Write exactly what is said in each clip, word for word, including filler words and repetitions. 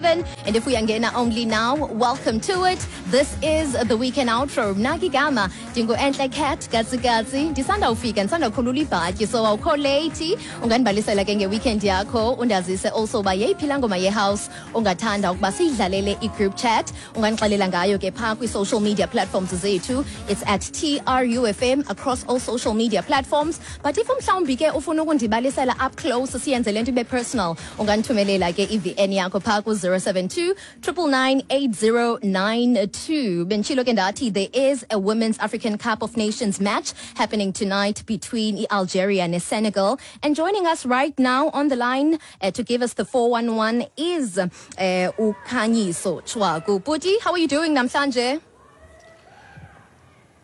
seven. And if uyangena only now, welcome to it. This is the weekend outro. Mna ke igama ndingu Entle Cat Katsikatsi. Ndisanda ufika, ndisanda kukhulula ibhatyi, so awukho late. Ungandibalisela ke ngeweekend yakho, undazise also uba yeyiphi laa ngoma yehouse ungathanda ukuba siyidlalele i-group chat. Ungandixelela ngayo ke phaa kwi-social media platforms zethu. It's at T R U F M across all social media platforms. But if mhlawumbi ke ufuna ukundibalisela up close, siyenze le nto ibe personal, ungandithumelela ke i-V N yakho phaa ku-zero seven two nine nine nine eight zero nine two. Benditshilo ke ndathi there is a Women's African Cup of Nations match happening tonight between Algeria and Senegal. And joining us right now on the line uh, to give us the four one one is uh, uKhanyiso Tshwaku. Bhuti, how are you doing namhlanje?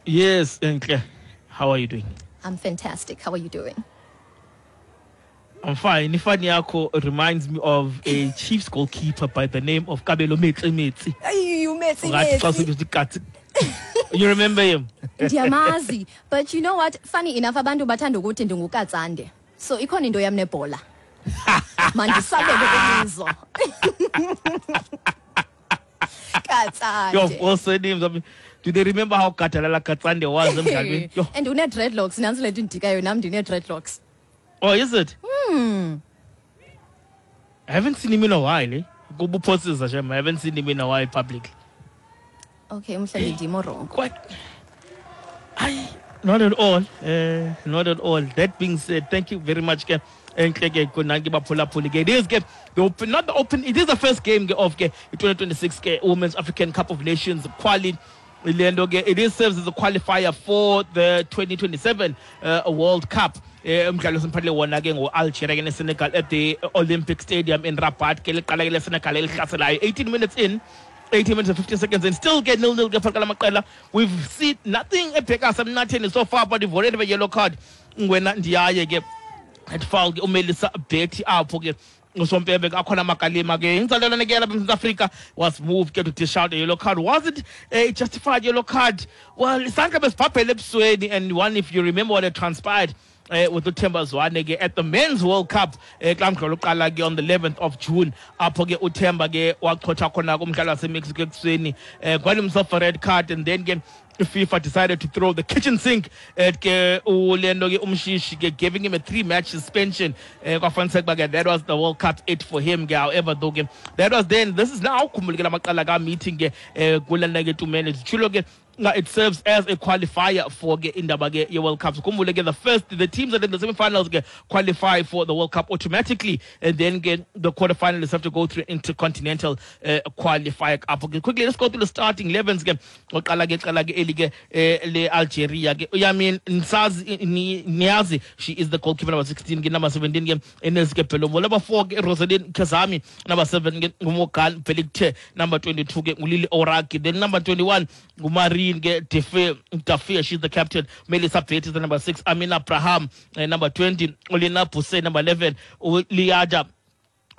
Yes, Enhle. How are you doing? I'm fantastic. How are you doing? I'm fine. Ifani yakho reminds me of a Chiefs goalkeeper by the name of Kabelo Metsi Metsi. Ay, uMetsi. Ungathi xa usithi katsi. You remember him? Ndiyamazi. But you know what? Funny enough, abantu bathanda ukuthi ndinguKatsande. So ikhona into yam nebhola. Mandisabele kwimizo. Yo, Katsande. all surnames. I mean, do they remember how Katalala Katsande was emdlalweni? Yo. And une-dreadlocks, nantsi le nto indikayo nam, ndine-dreadlocks. Oh, is it? Hmm. I haven't seen him in a while, eh? Kubuphosisa shem. I haven't seen him in a while publicly. Okay, mhlawumbi ndim o-wrong. Quite. I not at all. Uh, not at all. That being said, thank you very much, ke. Enhle ke kunanki baphulaphuli ke. It is ke the open, not the open. It is the first game ke of ke twenty twenty-six ke Women's African Cup of Nations quali. Le nto ke it is serves as a qualifier for the twenty twenty-seven uh, World Cup. Eh, umdlalo simphathele wona ke ngo-Algeria ke neSenegal at the Olympic Stadium in Rabat ke. Liqala ke leSenegal elihlaselayo eighteen minutes in, eighteen minutes and fifty seconds, and still get nil nil ke phakathi lamaqela. We've seen nothing ebheka semnatheni so far, but we've already have a yellow card. Ngwena Ndiaye ke at foul ke uMelissa Betty apho ke usompempe ke akhona amagalima ke inzalelwane ke lapha eMzantsi Afrika was moved ke to dish out a yellow card. Was it a justified yellow card? Well, isandla besibhabhele ebusweni, and one, if you remember what had transpired uh, with uThemba Zwane ke at the Men's World Cup eh kulaa mdlalo oqala ke on the eleventh of June, apho ke uThemba ke wachotha khona kumdlalo waseMexico ekuseni, eh got himself a red card, and then ke FIFA decided to throw the kitchen sink at ke ulento ke uMshishi ke, giving him a three match suspension. eh kwafaniseka uba ke that was the World Cup it for him ke. However though ke, that was then, this is now. Khumbule ke lamaqala ka meeting ke eh kulena ke tumene zitshilo ke nga it serves as a qualifier for ke indaba ke ye-World Cup. So khumbule ke the first the teams that in the semi-finals ke qualify for the World Cup automatically, and then ke the quarterfinalists have to go through intercontinental uh, qualifier apho ke. Quickly, let's go through the starting elevens ke. Oqala ke qala ke eli ke eh, le Algeria ke Yamin Nsazi Niazi, she is the goalkeeper. Number sixteen ke, number seventeen ke Ines ke Belomo, number four ke Rosaline Kazami, number seven ke nguMorgan Belikte, number twenty-two ke nguLili Oraki, then number twenty-one nguMarine ke Defe Dafia, she's the captain. Melissa Betty is the number six, Amina Abraham uh, number twenty, Olina Buse, number eleven, Liada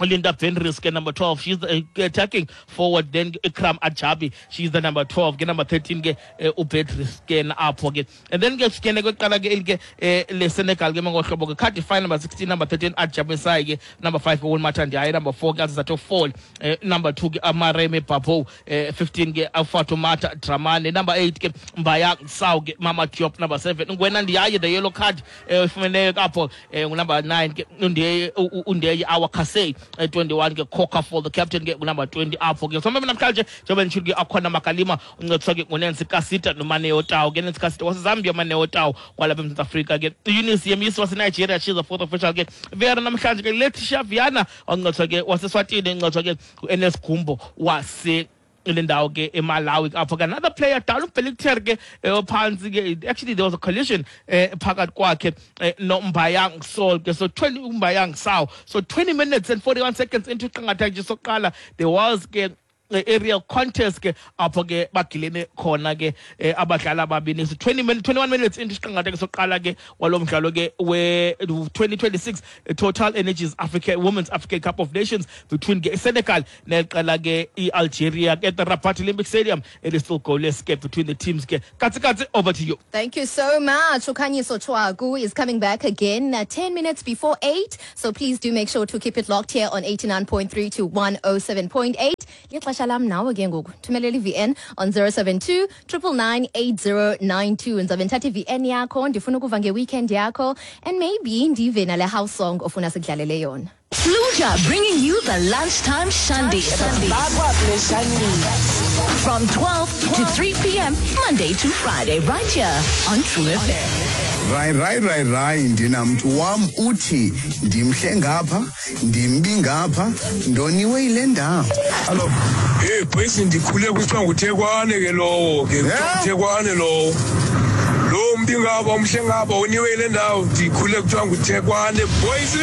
Linda Venris ke number twelve, she's the, uh, attacking forward. Then Ikram Ajabi, she's the number twelve ke. Number thirteen ke uh, uBeatrice ke apho ke. And then ke sikene kweqala ke eli ke eh, le Senegal ke ngohlobo ke Cardiff, number sixteen, number thirteen Ajabi Sai ke, number five ke Wilmata Ndiaye, number four ke Azato Fall, eh, number two ke Amareme Babo, eh, fifteen ke Fatoumata Dramane, number eight ke Mbaya Saw ke Mama Diop, number seven Ngwena Ndiaye, the yellow card eh, ifumeneyo apho, eh, number nine ke Undeye Undeye Awakase, eh, twenty-one ke Coca for the captain ke number twenty apho ke. So mbe namhlanje njengoba nditshilo ke akhona makalima uncediswa ke nguNancy Kasita noManeo Tau ke. Nancy Kasita waseZambia, Maneo Tau kwalapha eMzantsi Afrika ke. Eunice Yemisi waseNigeria, she's the fourth official ke. Vera namhlanje ke Letitia Viana oncediswa ke waseSwatini, uncediswa ke ngu-Ns Gumbo wase le ndawo ke eMalawi apho ke. Another player down, uBelikter ke phantsi ke. Actually, there was a collision eh, phakathi kwakhe eh, noMbayang Sol ke. So twenty uMbayang Saw, so twenty minutes and forty-one seconds into iqingatha nje sokuqala, there was ke aerial contest ke apho ke bagilene khona ke abadlali ababini. So twenty minutes, twenty-one minutes into isiqingatha ke soqala ke walo mdlalo ke we twenty twenty-six Total Energies Africa Women's African Cup of Nations between ke Senegal neqela ke iAlgeria at the Rabat Olympic Stadium. It is still goalless ke between the teams ke. Katsi katsi, over to you. Thank you so much. Ukhanyiso Tshwaku is coming back again at ten minutes before eight. So please do make sure to keep it locked here on eighty-nine point three to one oh seven point eight. Lixesha lam nawe ke ngoku. Thumelela i-V N on zero seven two, triple nine, eight zero nine two. Ndizabe ndithatha i-V N yakho, ndifuna ukuva nge-weekend yakho, and maybe ndive nale house song ofuna sikudlalele yona. Fluja bringing you the lunchtime shandy. From twelve to three p.m. Monday to Friday, right here on True F M. Right, right, right, right. Ndinamntu wam uthi ndimhle ngapha, ndimbi ngapha, ndoniwe yile ndawo. Hello. Hey, boys, ndikhule kuthiwa nguThekwane ke lowo ke, nguThekwane lowo. Lo mbi ngapha, umhle ngapha, uniwe yile ndawo, ndikhule kuthiwa nguThekwane, boys.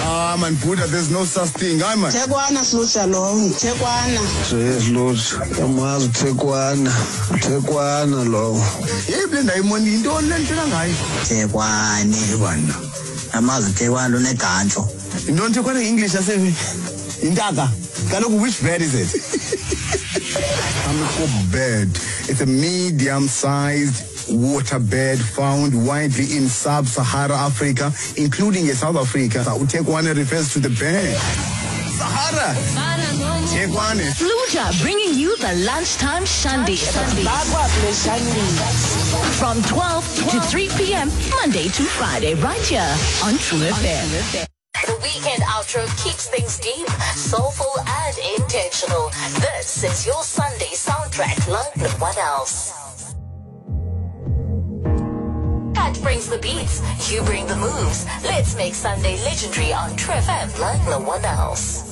Ah, man, Buddha, there's no such thing. Hayi man. Thekwana Sluja lowo, Thekwana. Yes, Sluja. Yamazi Thekwana. Thekwana lowo. Hey, le ndawo imoni yintoni le nto ngayo? Thekwane. Thekwana. Yamazi Thekwana unegantlo. Yintoni Thekwana in English ase intaka? Kaloku, which bird is it? Hamerkop bird. It's a medium-sized water bird found widely in sub-Sahara Africa, including in South Africa. Uthekwane refers to the bird. Sahara. Thekwane. Fluja bringing you the lunchtime shandy. From twelve to three p.m. Monday to Friday, right here on True F M. The weekend outro keeps things deep, soulful, and intentional. This is your Sunday soundtrack like no one else. Kat brings the beats, you bring the moves. Let's make Sunday legendary on True F M like no one else.